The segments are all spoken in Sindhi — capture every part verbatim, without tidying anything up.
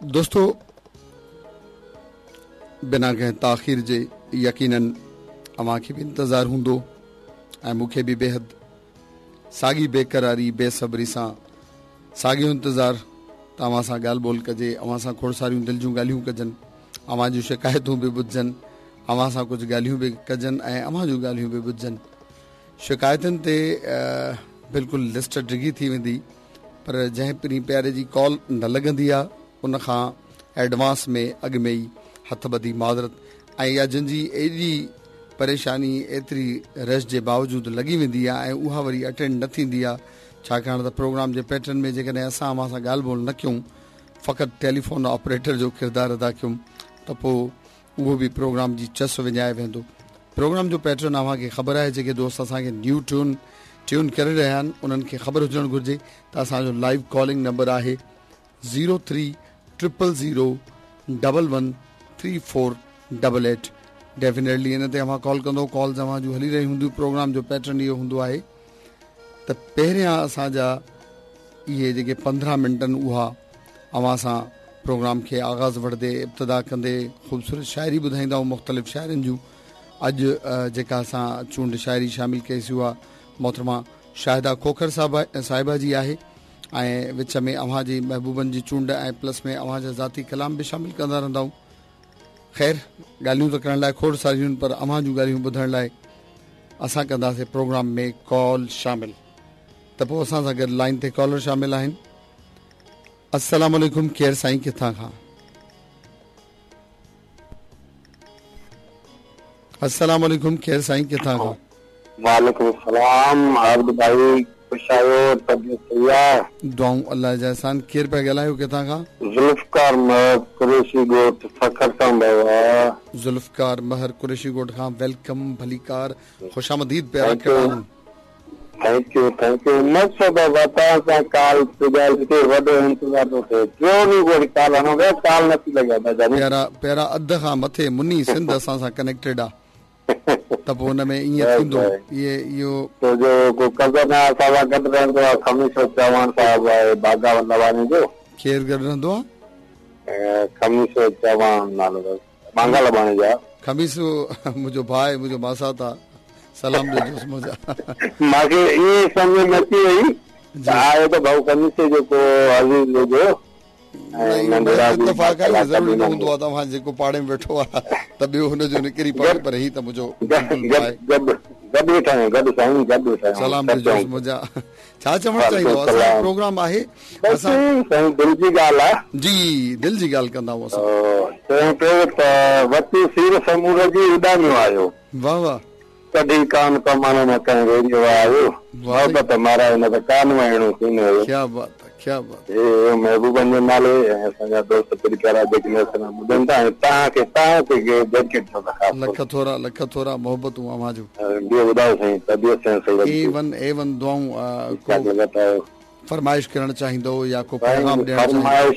دوستو بنا ڪنهن تاخير جي يقينن اوهان کي به انتظار هوندو ۽ مون کي به بيحد ساڳي بيقراري بيصبري سان ساڳيو انتظار ته اوهان سان ڳالهه ٻولهه ڪجي، اوهان سان کوڙ ساريون دل جون ڳالهيون ڪجن، اوهان جون شڪايتون به ٻڌجن، اوهان سان ڪجهه ڳالهيون به ڪجن ۽ اوهان جون ڳالهيون به ٻڌجن. شڪايتن تي بلڪل لسٽ ڊگهي ٿي ويندي پر جنهن پرين پياري جي ڪال نه لڳندي آهي ان کان ايڊوانس ۾ اڳ ۾ ئي هٿ ٻڌي معذرت ۽ يا جن جي ايڏي پريشاني ايتري رش جي باوجود لڳي ويندي آهي ۽ اها وري اٽينڊ نه ٿيندي آهي، ڇاڪاڻ ته پروگرام جي پيٽرن ۾ جيڪڏهن اسان اوهان سان ڳالهه ٻولهه نه ڪيون، فقط ٽيليفون آپريٽر جو ڪردار ادا ڪيون ته پوء اهو به پروگرام جي چس وڃائي ويندو. پروگرام جو پيٽرن اوهان کي خبر آهي، جيڪي دوست اسان کي نيو ٽيون ٽيون ڪري رهيا آهن انهن کي خبر هجڻ گهرجي ته اسان جو لائيو ڪالنگ نمبر آهي zero three triple zero double one three four double eight. Definitely ان تي اوهان ڪال ڪندو، ڪالز اوهان جون هلي رهيون هونديون. پروگرام جو پيٽرن اهو هوندو آهي ته پهريان اسان جا اهي جيڪي پندرهن منٽ آهن اها اوهان سان پروگرام کي آغاز وٺندي ابتدا ڪندي خوبصورت شاعري ٻڌائيندا آهيون مختلف شاعرن جون. اڄ جيڪا اسان چونڊ شاعري شامل ڪئيسي اها محترمه شاهده کوکر صاحبه جي آهي ۽ وچ ۾ اوهان جي محبوبن جي چونڊ ۽ پلس ۾ اوهان جا ذاتي ڪلام به شامل ڪندا رهندا آهيون. خير ڳالهيون ته ڪرڻ لاء کوڙ ساريون پر اوهان جون ڳالهيون ٻڌڻ لاء اسان ڪنداسين پروگرام ۾ ڪال شامل. ته پوء اسان سان گڏ لائن تي ڪالر شامل آهن. السلام عليڪم، ڪير سائين ڪٿان کان؟ السلام عليڪم، ڪير سائين ڪٿان کان؟ وعليڪم السلام عابد ڀائي، خوش آهيو؟ طبيعت صحيح آهي؟ دعائون الله جا احسان. ڪير پيا ڳالهايو ڪٿان کان؟ ذوالفقار مهر قريشي ڳوٺ سکر کان بابا. ذوالفقار مهر قريشي ڳوٺ کان، welcome, ڀليڪار، خوش آمديد پيارا. ڪهڙا آهن؟ Thank you thank you. مقصد بابا توهان سان ڪال تي ڳالهه ٿئي، وڏو انتظار ٿو ٿئي، ٽيون ڏينهن وري ڪال هڻو پيا، ڪال نٿي لڳي ادا جاني. پيارا پيارا، اڌ کان مٿي مني سنڌ اسان سان ڪنيڪٽيڊ آ ته پوء ان ۾ ائين ٿيندو. اهي اهو تو جو ڪو ڪزن آهي اسان سان گڏ رهندو آهي، خميسو چوهاڻ صاحب آهي باغا لواني جو. ڪير گڏ رهندو آهي؟ خميسو چوهاڻ نالو اٿس، بانگا لٻاڻي جا. خميسو منهنجو ڀاء آهي، منهنجو ماسات آ، سلام ڏجوس منهنجا. مان کي ائين سمجهه ۾ اچي وئي ته آهي ته ڀائو خميسي جو ڪو عزيز ويجهو. اتفاق آهي، ضروري نه هوندو آهي ته اوهان جيڪو پاڙي ۾ ويٺو آهي ته ٻيو هن جو نڪري پوي، پر هي ته منهنجو بلڪل ڀاء آهي. گڏ گڏ ويٺا آهيون، گڏ سائين گڏ ويٺا آهيون. سلام ڏجوس منهنجا. ڇا چوڻ چاهيندو؟ اسان جو پروگرام آهي اسان سائين دل جي ڳالهه آهي. جي دل جي ڳالهه ڪندا آهيون اسان. چيائين پيو ته وتي سير سمور جي اڏاميو آيو. واه واه. ڪڍي ڪان ڪمان مان ڪنهن ويريء واه آيو. محبت مارائي نه ته ڪان وهيڻو ڪين هيو. ڪيا بات آ ڪيا بات. هي محبوبن جي نالي ۽ اسان جا دوست پري پيارا جيڪي اسان کي ٻڌن ٿا ۽ توهان کي توهان کي ڊيڊيڪيٽ ٿيو ٿا خاص. لک ٿورا لک ٿورا، محبتون اوهان جون. ٻيو ٻڌايو سائين طبيعت صحت صحيح اي ون اي ون دعائون. ڪو فرمائش ڪرڻ چاهيندو يا ڪو پيغام ڏيڻ چاهيندو؟ فرمائش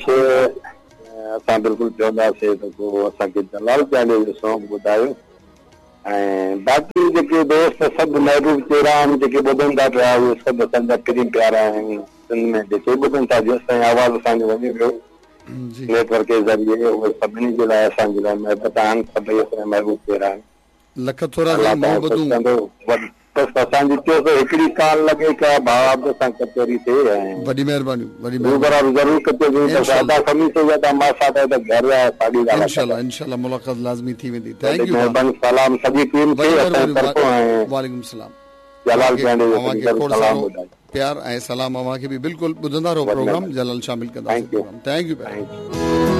اسان بلڪل چونداسين ته ڪو اسان کي جلال چانڊيو جو سونگ ٻڌايو ۽ باقي جيڪي دوست سڀ محبوب چهرا آهن جيڪي ٻڌن ٿا پيا اهي سڀ اسان جا پرين پيارا آهن. سنڌ ۾ جيڪي ٻڌن ٿا جيس تائين آواز اسان جو وڃي پيو نيٽ ورڪ جي ذريعي اهي سڀني جي لاء اسان جي لاء محبت آهن، سڀئي اسان جا محبوب چهرا آهن. لک ٿورا سائين، محبتون. بس اسان جي چيو ته هڪڙي ڪال لڳي ڪا ڀاء عبد سان ڪچهري ٿئي ۽ وڏي مهرباني وڏي مهرباني. ضرور ڪچهري ٿي. ادا خميسو جا ته ماسات آهي ته گهر آهي ساڳي ڳالهه. انشاءالله انشاءالله ملاقات لازمي ٿي ويندي. Thank you. مهرباني، سلام سڄي ٽيم کي اسان جي طرفون ۽ وعليڪم السلام. جلال چانڊيو جو سڄي طرف سلام ٻڌايو. پيار ۽ سلام اوهان کي به. بلڪل ٻڌندا رهو پروگرام، جلال شامل ڪنداسين پروگرام. Thank you.